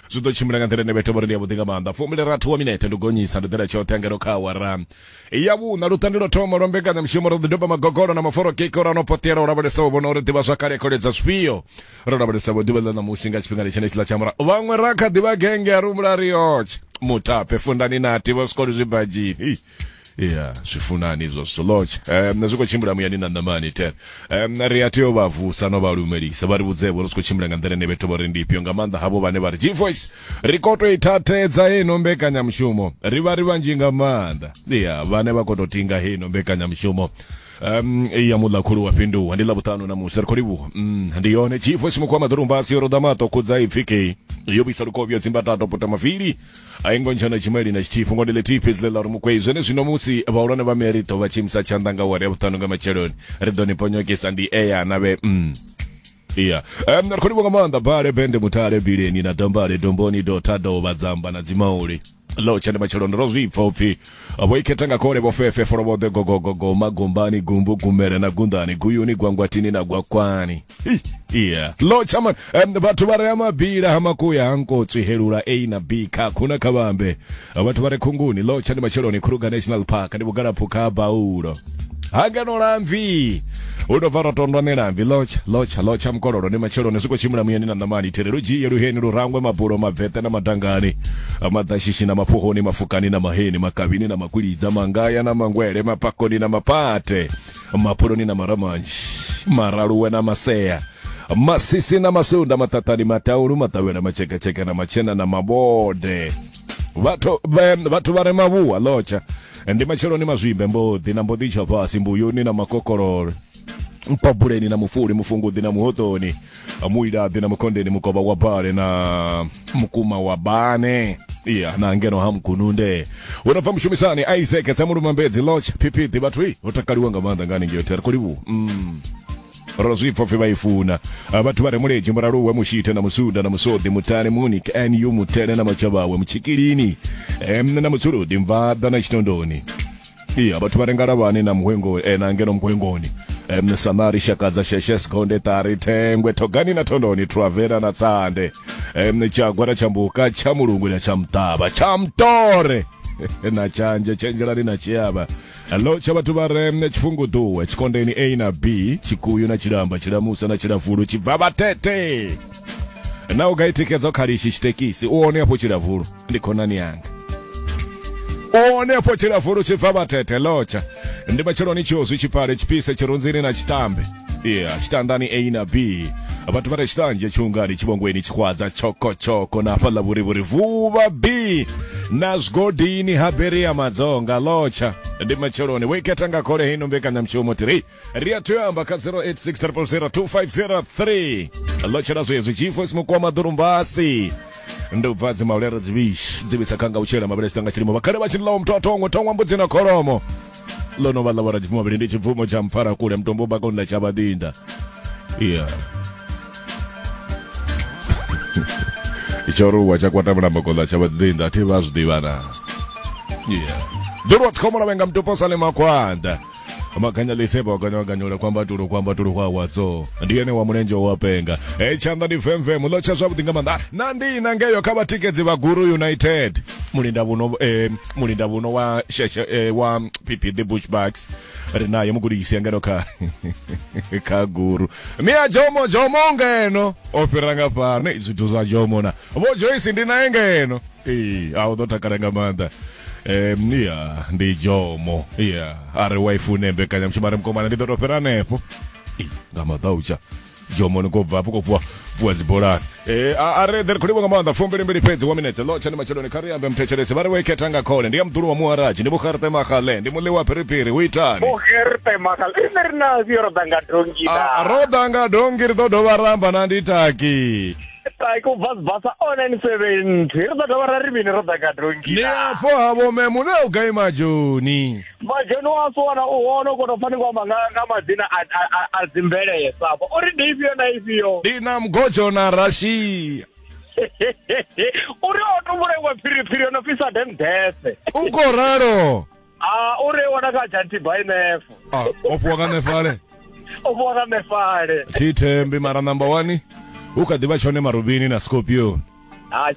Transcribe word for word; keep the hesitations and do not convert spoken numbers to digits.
Zwi ḓo tshimbila nga nḓila ine vhethu vho ri ndi yavhuḓi nga maanḓa. Fumbili rathi wa minete ndi gonyisa ndi ḓela tshoṱhe ngeno kha awara ya vhuṋa. Lutandi lwo thoma lwa mbekanyamushumo ro ḓi doba magogolo na maforokiko ra no poṱela u lavhelesa u vhona uri ḓivha zwakale kholedza zwifhio. Ro lavhelesa vho ḓuvha ḽa ṋamusi nga tshifhinga tshenetshiḽa tsha murahu. Vhaṅwe ra kha ḓivha genge a rumula ri yotshe mutape fundani nati vho swikolo zwibadzhini. Ya zwifunani izwo zwithu lotsha. Um zwi khou tshimbila muyani na ṋamani ten. Um ri a tea u vha vusa no vha lumelisa vha ri vhudze-vho ri zwi khou tshimbila nga nḓila ine vhethu vho ri ndi ifhio, nga maanḓa havho vhane vha ri G-Voice ri khou tou i thathedza heino mbekanyamushumo. Ri vha ri vhanzhi nga maanḓa. Ya vhane vha khou tou tinga heino mbekanyamushumo um ya muḽa khulu wa fhinduwa ndi ḽavhuṱanu na musi ri khou livhuwa. Mm, ndi yone G-Voice mukhu wa maḓurumbasi yo roḓa maṱo khudza ipfi kei yo vhuisa lukovhi dzimbatato puta mavili a ingo ntshana tshimeli na tshithihi fhungo ndi ḽithihi fhedzi ḽe ḽa uri mukwei zwene zwino musi vhahulwane vha meri ḓo vha tshimisa tshanḓa nga awara ya vhuṱanu nga matsheloni ri ḓo ni ponyokisa ndi eya na vhe mm. Yeah. Um, ri khou livhuwa nga maanḓa bale bende mutale bileni na dombale domboni dota dovha dzamba na dzimauli lotsha ndi matsheloni ro zwi pfa upfi vho ikhetha nga khole vho fefe folovhoḓe gogogogo magombani gumbu gumele na gundani guyuni gwangwatini na gwakwani. Yeah. Lotsha man um, vhathu vha re mabila ha makuya ha nkotswi helula A na B kha khuna kha vhambe vhathu vha re khunguni lotsha ndi matsheloni Kruger National Park ndi vhugalaphuka baulo hangeno lamvi u ḓo bva rotondwa ṋelamvi lotsha lotsha lotsha mukololo ndi matsheloni zwi khou tshimbila muyani na ṋamani there lu dzhie luheni lurangwe mabulo mabvete na madangani maḓashishi na maphuhoni mafukani na maheni makavhini na makwilidza mangaya na mangwele mapakoni na mapate mapuloni na maramanzhi maraluwe na masea masisi na masunda maṱaṱani mataulu maṱavhela matshekatsheke na matshena na mabode vhathu vhathu vha re mavhuwa lotsha ndi matsheloni mazwimbe mboḓi na mboḓi tsha fhasi mbuyuni na makokololo mpabuleni na mufuli mufunguḓi na muhoṱoni muilaḓi na mukhondeni mukovha wa bale na mukuma wa bane ya na ngeno ha mgununde hu no bva mushumisani Isaac tsa mulumambedzi lotsha phiphiḓi vhathu i ho takaliwa nga maanḓa ngani ngeo ri khou livhuwa. Mm. Ro zwi pfa pfi vha i funa vhathu vha re muledzhi muraluwe mushithe na musunda na musoḓi mutane munich nu mutele na matshavhawe mutshikilini em na mutsuludi mvaḓa na tshitondoni. Iya vhathu vha re ngalavhani na muhwengo eh, na ngeno muhwengoni em sanari shakadza sheshe skonde tari thengwe thogani na thondoni travela na tsande em tshagwa na tshambuka tsha mulungu na tsha muṱavha tsha mutore na tshanje tshenjelani na tshiavha lotsha vhathu vha re tshifunguduwe tshikondeni A na B tshikuyu na tshilamba tshilamusa na tshilavulu tshibva vhatete na u ga ithikedzo khalishi tshitekisi u one afho tshilavulu ndi khonani yanga u one afho tshilavulu tshibva vhatete lotsha ndi matsheloni tshiozwi tshipale tshipise tshirunzini na tshitambe yeah tshitandani A na B vhathu vha re tshitanzhe tshiungani tshivhongweni tshikhwadza tshokotshoko na hafhaḽa vhurivhuri vuvha B na zwigodini ha Beria Madzonga lotsha ndi matsheloni wo ikhetha nga khole heino mbekanyamushumo tiri ri a tea amba kha zero eight six triple zero two five zero three lotshela zwezwi G-Voice mukoma ḓurumbasi ndi u bva dzimaulere dzivhishi dzivhisa khanga u tshela mavhele tshitanga tshilimo vhakhale vha tshi ḽaho muthu a thongwe thongwa mbudzi na kholomo ḽo no vha ḽa vhora tshibvumo mavhili ndi tshibvumo tsha mpfara kule mutombo bakoni ḽa tshavhaḓinda. Yeah. Tshoruwa tsha kwata mulambo ḽa tshavhaḓinda thi vha zwi ḓivha na. Yeah. Ḓulwa tsikhomo lavhenga mutupo sale makhwanda makanya lisebo kanya kanyula kwamba tulo kwamba tulo kwa wadzo ndi ene wa mulenzhe wa penga e tshanḓa ndi vemvem lotsha zwavhuḓi nga maanḓa na ndi na ngeyo kha vhatikedzi vha Guru United mulinda vhuno eh, mulinda vhuno wa sheshe eh, wa P P the Bushbucks ri naye mugudisi ngeno kha kha Guru mia Jomo Jomo ngeno o fhira nga fhano zwithu zwa Jomo na vho Joyce ndi naye ngeno eh a u ḓo takala nga maanḓa. Um, yeah, ndi Jomo yeah a ri wa ifune mbekanyamushumo a ri mukomana ndi ḓo tou fhira hanefho nga maḓautsha Jomo ni khou bva hafho khou bvuwa bvuwa dzibolani eh a ri ḓi ri khou livhuwa nga maanḓa fumbili mbili fhedzi wa minetse lotsha ndi matsheloni kha ri ambe muthetshelesi vha ri wo ikhetha nga khole ndi ya muḓulu wa muharaji ndi vhugerte magale ndi muḽi wa phiriphiri hu itani vhugerte magale ine ri na fhio ro ḓa nga dongi na ro ḓa nga dongi ri ḓo dovha ra amba na ndi taki taki u bva zibasa o nine seventy ri ḓo dovha ra ri mini ro ḓa nga dongi ni afho ha vho memu na u gai majoni majoni wa sona u hone u kona u pfa ni khou amba nga nga madzina a a a dzimvelesa afho uri ndi ifhio na ifhio ndi na mgojo na Russia uri o tumbula iwe phiriphiri yo no fhisa dendese u khou ralo a uri wana kha janti by nefo a o fhiwa nga nefale o fhiwa nga nefale thi thembi mara number one u kha ḓivha tshone marubini na scorpion a